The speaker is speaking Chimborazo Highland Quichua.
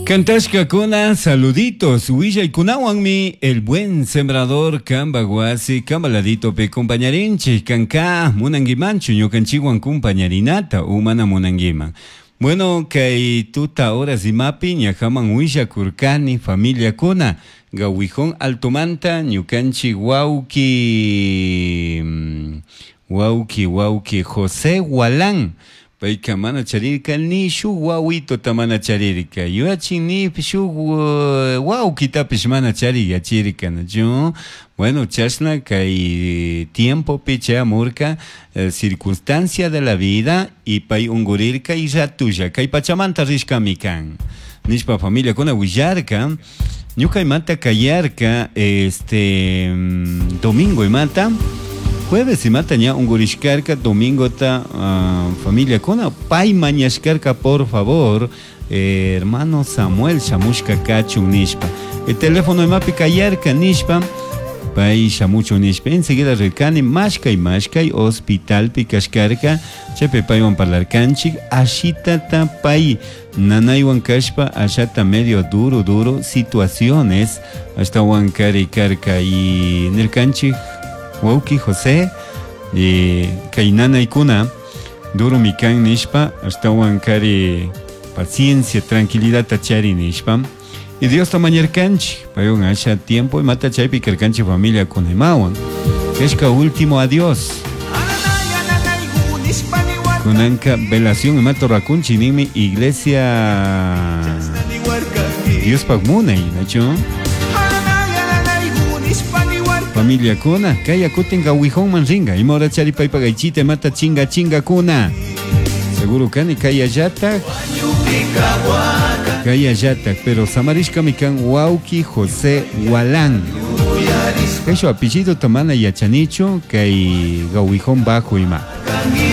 Kantashkakuna saluditos willaykunawanmi el buen sembrador kamba wasi kamba laditopi compañarinchik kanka munankimanchu ñukanchikwan compañarinata o mana munankiman. Bueno, kay tuta horas imapi ñajaman willakurkani familiakuna Gawijón Altomanta ñukanchik wawki wawki wawki José Walán payka mana charirka ni shuk wawitota mana charirka yuyachin ni shuk wawkitapish mana chariyachirka nachu. Bueno, chashna kay tiempopi chayamurka circunstancia de la vida y pay ungurirka y ratulla kay pachamanta rishkami kan nishpa familiakuna willarka. Ñuka imata kayarka este domingo imata jueves imata ña ungurishkarka domingota familiakuna pay mañashkarka por favor hermano Samuel shamushka kachun nishpa el teléfono imapi kayarka nishpa pay shamuchun nishpa enseguida rirkani mashkay mashkay hospitalpi kashkarka chaypi paywan parlarkanchik ashitata pay nanaywan kashpa ashata medio duro duro situaciones ashtawan kari karka y nirkanchik wawki José kay nanaykuna duro mi kan nishpa ashtawan kari paciencia tranquilidad chari nishpa y Diosta mañarkanchik paywan asha tiempo imata chaypi karkanchik familia kunaymawan kashka último adiós kunanka velación imata rakunchik ninmi iglesia Diospaq munay nachu familia kuna kay kutin gawijonman ringa ima hora chari paypak aychita imata chinga chinga kuna seguro kani kay allatak kay allatak pero samarishkami kan wawki José Walán kay shuk apellido mana yachanichu kay gawijón bajo ima.